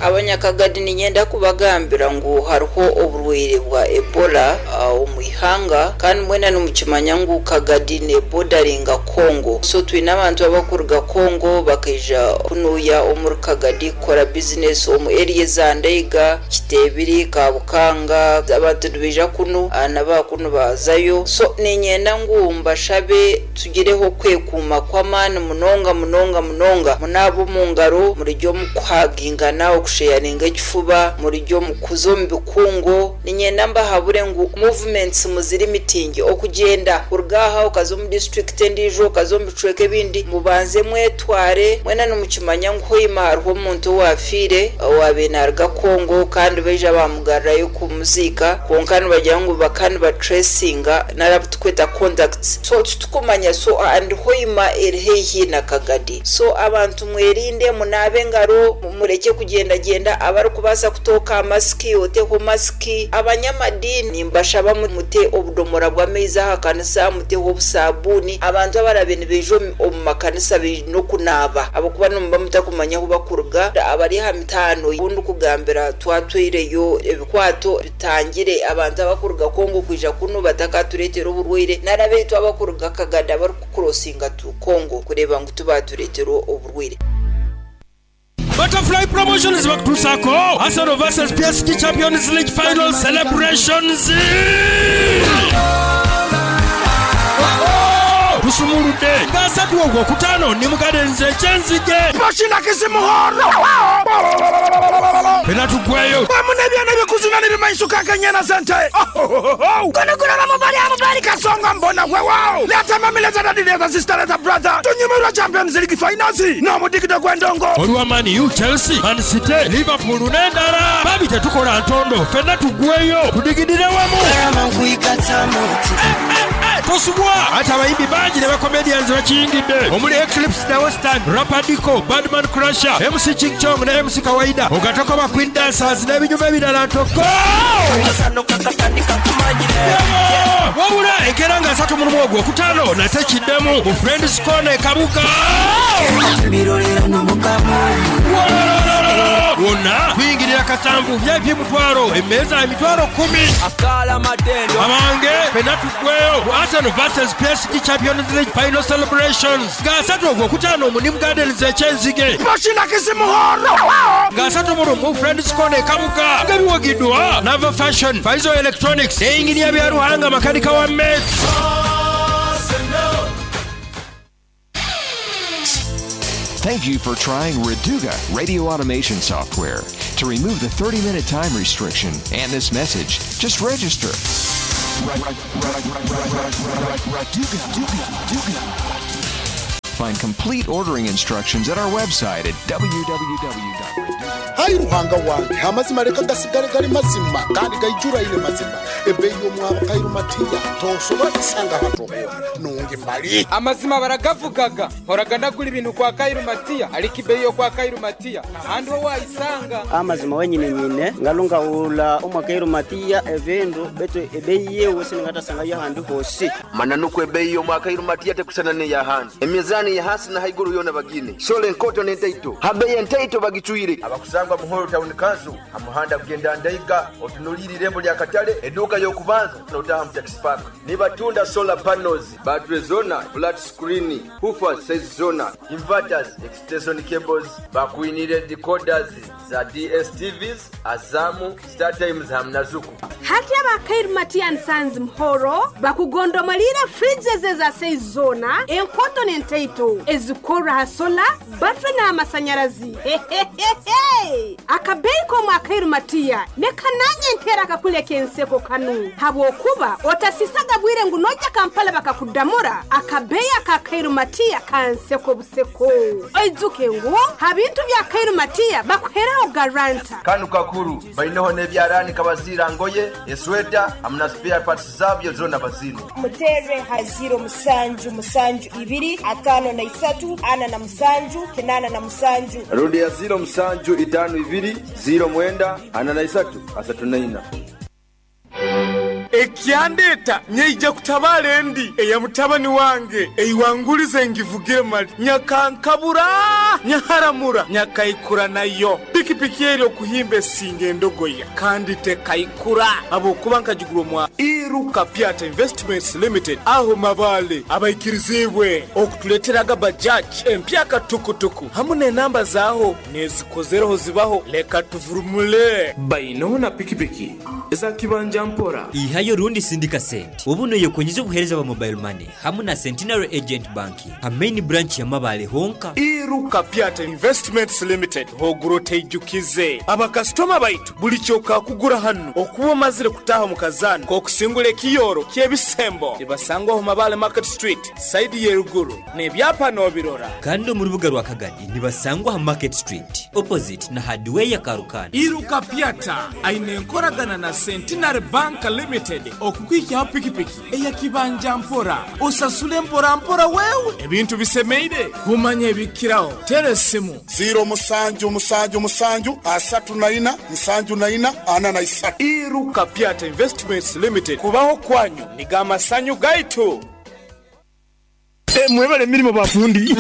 Abanyakagadi niinyenda kubagambira ngu hariho oburwaire bwa Ebola omu ihanga kandi mwena nimukimanya ngu Kagadi neebodaringa Congo. So twine abantu abarikuruga Congo bakaija kunuuya omuri Kagadi kukora bizinesi omu area eza Ndaiga, Kiteebiri, Kabukanga. Abantu nibaija kunu na baakunu baazayo. So niinyenda ngu mbashabe Tugireho okwekuuma kw'amaani munonga munonga munonga. Munaabe omu ngaro, murugye omu kuhagingana, okusheyaringa ekifuba, murugye omu kuza omu bikungu. Niinyenda mbahabure ngu movements muzirimitinge, okugyenda kuruga aha okaza omu disiturikiti endiijo, okaza omu bicweka ebindi, mubanze mwetware. Mwena nimukimanya ngu Hoima hariho omuntu owaafiire owaabaire naaruga Congo kandi baija baamugarurayo kumuziika kwonka nibagira ngu bakaba nibatracinga nari abu turikweta contacts so titukumanya so and Hoima eri haihi na Kagadi so abantu mwerinde munaabe engaro murekye kugyendagyenda abarikubaasa kutooka masiki oteho masiki abanyamadiini nimbashaba mute obudomora bw'amaizi aha kanisa muteho obusabuuni abantu abarabe nibaija omu makanisa baine okunaaba ahabw'okuba nimuba mutakumanya ahu bakuruga abari aha mitaano obu ndikugambira twatwaireyo ebikwato Bitangire abantu abakuruga Congo kwija kunu batakatureetera oburwaire nari abaitu abakuruga Kagadi abarikukurosinga to Congo kureeba ngu tibaatureetera oburwaire. Butterfly Promotions bakutuusaako Arsenal vs PSG Champions League Final Celebrations! Tusumuludde nga asatu Ogwokutaano ni mu Gardens e Kyenzige. Fena tugweyo. Wamu n'ebyana ebikuzina n'ebimanyisuka nk'enyana z'ente. Ohohoho! Guno guloba mubali amubali kasonga mbona wewawo. Leeta mami leeta daddy leeta sister leeta brother tunyumirwe Champions League finals n'omudigido gw'endongo. Olwa Man U, Chelsea, Man City, Liverpool n'endala. Babi tetukola ntondo fena tugweyo tudigidire wamu. Tosubwa! Ate abayimbi bangi ne ba comedians bakiyingidde omuli Eclipse The Western, Rapper Diko, Badman Crusher, MC Ching Chong ne MC Kawaida ogatako ba Queen Dancers n'ebinyuma ebirala ntoko! Wabula enkeera nga 31 Ogwokutaano nate kiddemu mu Friends Corner e Kabuga. Wololololo! Wonna kuyingirira kasanvu, VIP mutwalo, emmeeza emitwalo kkumi. Abange ffenna tuggweyo ku Arsenal vs PSG Champions League Final Celebrations nga asatu Ogwokutaano mu New Gardens e Kyenzige. Nga 31 Friends Corner e Kabuga nga biwagidwa Nava Fashion, Faizo Electronics ne Yinginiya Byaruhanga makanika wa Met. Thank you for trying Raduga radio automation software. To remove the 30 minute time restriction and this message, just register. Find complete ordering instructions at our website at www.raduga. Ayi Ruhanga wange, amazima leka gasigale gali mazima kandi gaijuraine mazima. Ebeeyi y'omwabo Kairu Matiya tosobora kusanga hatu hoona nungi mali. Amazima baragavugaga mporaga ndagura ibintu kwa Kairu Matiya ariko ibeyi yo kwa Kairu Matiya ntahandi ho wayisanga. Amazima wenyine nyine ngalungawula omwa Kairu Matiya ebindu betu ebeyi yewe siningatasanga ahandi hosi. Mananukwo ebeyi y'omwa Kairu Matiya tekusana n'eyahandi. Emizani ya hasi na haiguru yona bagine. Sole enkoto n'entaito. Habeyi entaito bagicwire. Abakusangwa Muhoro Town Council hamuhanda kugenda Ndaiga otunulire irembo lya Katale eduka y'okubanza notaha mu taxi park. Nibatunda solar panels, battery zona, flat screen, woofers size zona, inverters, extension cables, bakuinire decoders za DSTVs, Azamu, Star Times hamna Zuku. Hati abakairu Matiya Nsanzi Muhoro bakugondomalira fridges za size zona enkoto n'entaito ezikora ha sola battery n'amasanyarazi. Akabeyi k'omwakairu Matiya nekananye ntera akakuleka enseko kanu habwokuba otasisaga bwire ngu nojja Kampala bakakudamura akabeyi akakairu Matiya kanseko buseko. Oizuke ngu habintu bya Kairu Matiya bakuheraho garanta. Kanu kakuru bainoho n'ebyarani kabazira ngoye esweta hamna spare parts zabyo zona bazino. Mutere ha 0 7 7 2 5 3 47 87. Rundi ya 0 7 5 2 0 9 43 34. Ekyandeta nyeija kutabala endi eya mutabani wange eiwangulize ngivugire mali nyakankabura nyaharamura nyakaikura nayo pikipiki eri okuhimba esinga endogoya kandi tekaikura abokuba nkagigura omwa Iruka Piata Investments Limited aho mabale abaikirizibwe okutuleteraga bajaji empyaka tukutuku hamu n'enamba zaaho nezikozereho zibaho leka tuvurumule bainoho na pikipiki eza kibanja mpora. Ihayo rundi sindika sente ubu noyekonyiza obuhereza bwa mobile money hamu na Centenary Agent Banking ha main branch ya Mabale honka. Iruka Piata Investments Limited hoguro teijukize abakasitoma baitu buli kyokakugura hano okuba omazire kutaha mu kazana kokusingula ekiyoro ky'ebisembo ibasangwaho Mabale Market Street side yeruguru n'ebyapa n'obirora. Kandi omu rubuga rwa Kagadi nibasangwa ha Market Street opposite na hardware ya Karukana. Iruka Piata aine enkoragana na Centenary Bank Limited okukwikyaho pikipiki eyakibanja mpora osasule mpora mpora wewe ebintu bisemeire kumanya ebikiraho tera esimu 0 7 7 7 34 74 43. Iruka Piata Investments Limited kubaho kwanyu niga amasanyu gaitu. Mwebale emirimo bafundi.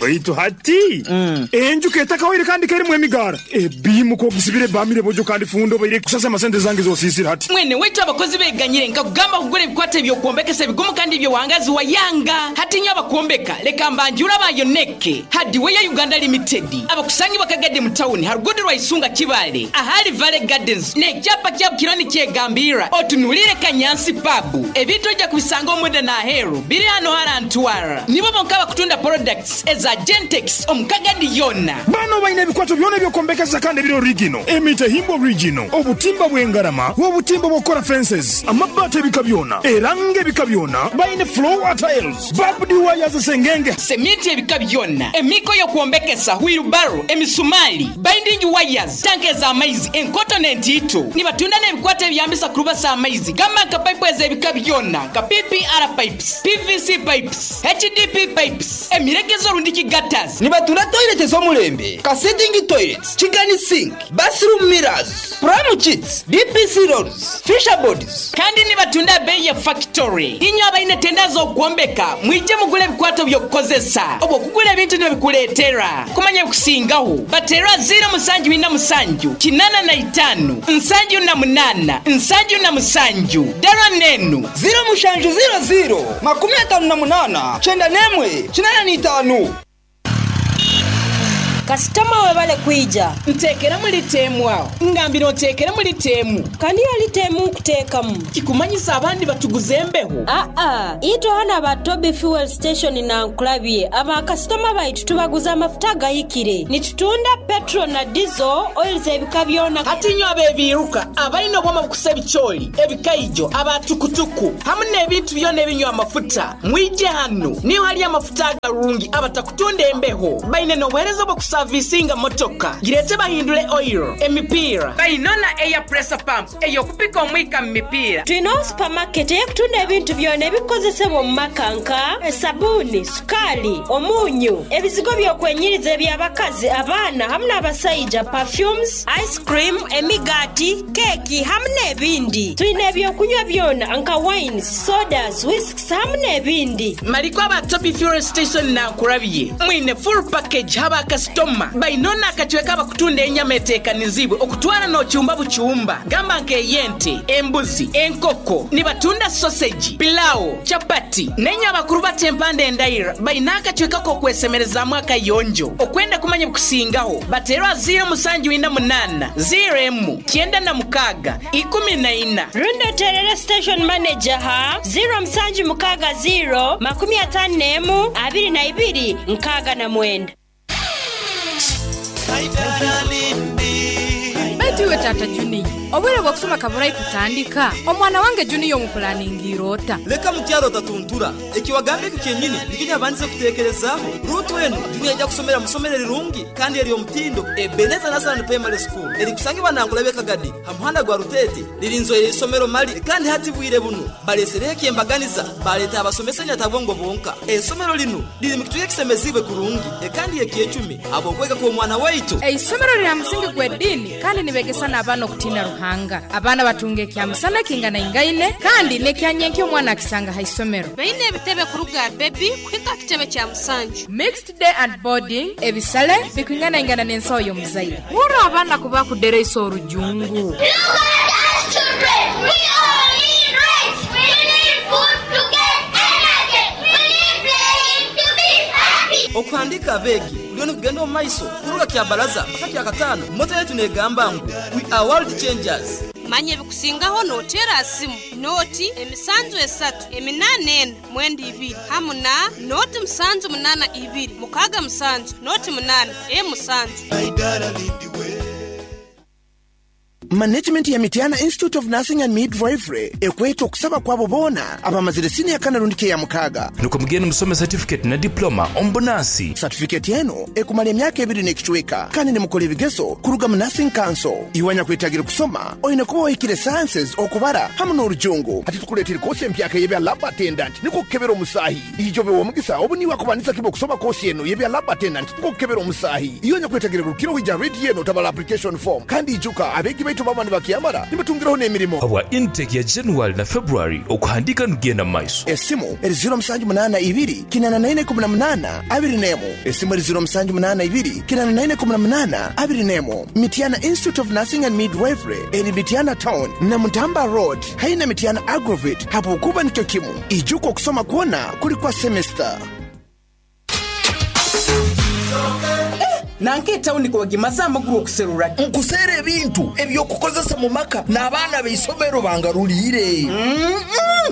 Baitu hati enjuka etakawire kandi kerimu emigara ebimuka ogisibire bamire bojo kandi fundo baire kusasa amasente zange zosisira hati. Mwene wetu abakozi beganyire nkakugamba kugura ebikwata ebyokwombekesa ebigumu kandi ebyowangazi wa yanga hati nyo abakuombeka leka mbanjura bayoneke Hardware ya Uganda Limited abakusangi bakagade mu town harugudu rwa Isunga Kibale ahali Valley Gardens n'ekyapa kyabo kironi kyegambira otunulire Kanyansi pub ebintu ojja kubisanga omwenda n'aheru biri hano harantwara nibo bonka bakutunda products eza Gentex omukagadi yona. Bano baine ebikwato byona ebyokombekesa kandi ebiri original emite himbo original obutimba bw'engarama obutimba bw'okukora fences amabaati ebika byona eranga ebika byona baine floor tiles barbed wires sengenge semiti ebika byona emiko y'okwombekesa wheelbarrow emisumali binding wires tanke z'amaizi enkoto n'entiito nibatunda n'ebikwato ebyambisa kurubasa amaizi gamba nka pipe ez'ebika byona nka PPR pipes, PVC pipes, HDP pipes, emiregezo rundiki gutters. Nibatunda toilet ez'omulembe ka sitting toilets, chicken sink, bathroom mirrors. Prime Chits, DPC Rolls, Fisher Boards. Kandi nibatunda beeyi ya fakitori. Inywe abaine tenda z'okwombeka mwije mugule ebikwato by'okukozesa oba okugula ebintu nibabikuleetera. Kumanya ebikusingaho bateere aha ziiro musanju ina musanju, 85, 78, 77. Dara n'enu. Ziiro mushanju ziiro ziiro, 58, 91, 85. Kasitoma webale kwija. Nteekeremu lita emu aho. Ngambira onteekeremu lita emu. Kandi yo lita emu nkuteekamu. Kikumanyisa abandi batuguza embeho? Aa, itwe ghano aba Tobi Fuel Station Nankulabye, aba kasitoma baitu tubaguza amafuta agahikire. Nitutunda petrol na diesel, oils ebika byona. Hati inywe ab'ebiiruka, abaine obwoma obukusa ebicoori, ebikaijo, aba tukutuku hamu n'ebintu byona ebinywa amafuta, mwije hanu. Niho hali amafuta agarungi abatakutunda embeho. Baine n'obuheereza obw'okusavisinga motoka. Gireete bahindule oil, emipiira. Baine na air pressure pump ey'okupika omwika mu mipiira. Twinegho supermarket ey'okutunda ebintu byona ebikozesebwa omu maka nka, esabuuni, sukaali, omunyu, ebizigo by'okwenyiriza eby'abakazi, abaana hamu n'abasaija, perfumes, ice cream, emigaati, keeki hamu n'ebindi. Twine eby'okunywa byona nka wines, sodas, whisks hamu n'ebindi. Mariko aba Tobi Fuel Station Nankurabye mwine full package ha bakasitoma baine n'akacweka abakutunda enyama eteekanizibwe okutwara n'okyumba bukyumba gamba nk'ey'ente, embuzi, enkoko. Nibatunda soseji, pilawo, chapati n'enye abakuru bata empanda endaira baine akacweka k'okwesemerezaamu akayonjo. Okwenda kumanya ebikusingaho bateere aha ziiro musanju ina munaana, ziiro emu, 96, 14. Rundi oteerere station manager ha 0760 51 22 69. Baitu iwe taata Junior, obwire bw'okusoma kaburai kutandika, omwana wange Junior omupulaningiire ota? Leka mukyara otatuntura. Eki wagamba ekyo kyenyini nikyo nyabandize kuteekerezaaho. Ruutu enu, Junior aija kusomera mu isomero erirungi kandi ery'omutindo, Ebenezer Nursery and Primary School, erikusangibwa Nankulabye Kagadi ha muhanda gwa Ruteete. Ririnzoire isomero mali kandi hati bwire bunu baleesereho eky'embaganiza baaleeta abasomesa nyatabwongo bonka. Eisomero linu riri mu kicweka ekisemeziibwe kurungi kandi ekyecumi habw'okwega kw'omwana waitu. Eisomero riri ha musingi gw'ediini kandi nibegesa n'abaana okutiina Ruhanga. Abaana batunga ekyamusana ekinganaingaine kandi n'ekyanyenkya omwana akisanga ha isomero. Baine ebitebe kuruga aha bebi kuhika aha kitebe kya musanju. Mixed day and boarding, ebisale bikwinganaingana n'ensaho y'omuzaire. Hurra abaana ku bakudereisa orujungu. Okuhandiika abeegi kuriyo nikugenda omu maiso kuruga Kyabaraza mpaka Kyakataano. Moto yaitu negamba ngu, We are world changers. Manya ebikusingaho noteera aha simu nooti emisanju esatu eminaana ena mwenda ibiri hamu na nooti musanju munaana ibiri mukaaga musanju nooti munaana emu musanju. Management ya Mityana Institute of Nursing and Midwifery ekweta okusaba kwabo boona abamazire siniya kana rundi ki eyamukaaga. Nukwo mugende musome satifiketi na diploma omu bunansi. Satifiketi enu ekumara emyaka ebiri n'ekicweka kandi nimukora ebigezo kuruga mu Nursing Council. Iwe anyakwetagire kusoma oine kuba ohikire Sciences, okubara hamu n'orujungu. Hati tukuleeteire koosi empyaka ey'ebya Lab Attendant nikwo kukebera omusaahi. Ijo obe w'omugisa obu niiwe akubandiza kimu okusoma koosi enu y'ebya Lab Attendant nikwo kukebera omusaahi. Iwe anyakwetagire rukira oija rediyo enu otabara application form. Kandi ijuka abeegi baitu baba nibakyamara nibatungiraho n'emirimo. Habwa intake ya January na February okuhandiika nikugenda mu maiso. Esimu eri ziiro musanju munaana ibiri kinaana na ina 18 21. Esimu eri ziiro musanju munaana ibiri kinaana na ina 18 21. Mityana Institute of Nursing and Midwifery eri Mityana Town Namutamba Road haihi na Mityana Agrovet habwokuba nikyo kimu. Ijuka okusoma kwona kuri kwa semester. Nanka etawuni ku bagimaze amaguru okuserura. Nkuseera ebintu eby'okukozesa mu maka n'abaana b'eisomero bangaruliire.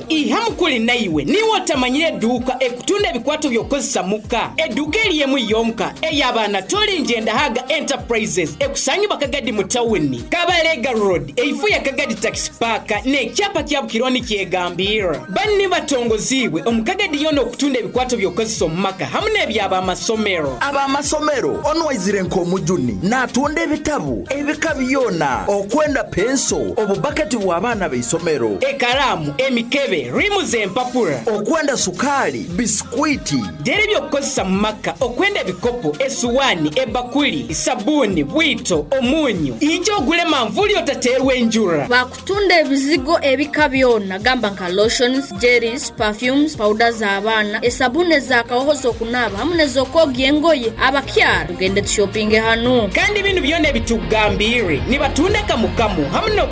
Iha mukuli naiwe niiwe otamanyire eduuka ekutunda ebikwato by'okukozesa muka. Eduuka eri emu yonka eya ba Anatoli Njendahaga Enterprises ekusangibwa Kagadi mu tawuni, Kabalega Road eifo ya Kagadi Taxi Park n'ekyapa kya Bukironi kyegambirra. Banu ni batongoziibwe omu Kagadi yoona okutunda ebikwato by'okukozesa omu maka hamu n'ebya b'amasomero. Ab'amasomero, onu waiza. Aizire nk'omujuni n'atunda ebitabu ebika byona okwenda penso, obubaketi bw'abaana b'eisomero. Ekalaamu, emikebe, riimu z'empapura. Okwenda sukaali, bisikwiti. Dera eby'okukozesa mu maka okwenda ebikopo, esuwaani, ebakuli, sabuuni, bwito, omunyu. Ija ogule manvuuli otateerwa enjura. Bakutunda ebizigo ebika byona gamba nka lotions, jellies, perfumes, powder z'abaana, esabuni ez'akahoho z'okunaaba hamu n'ez'okwogya engoye. Abakyara tugende tushopinge hanu. Kandi binu byona ebitukugambiire nibatunda kamu kamu hamu no.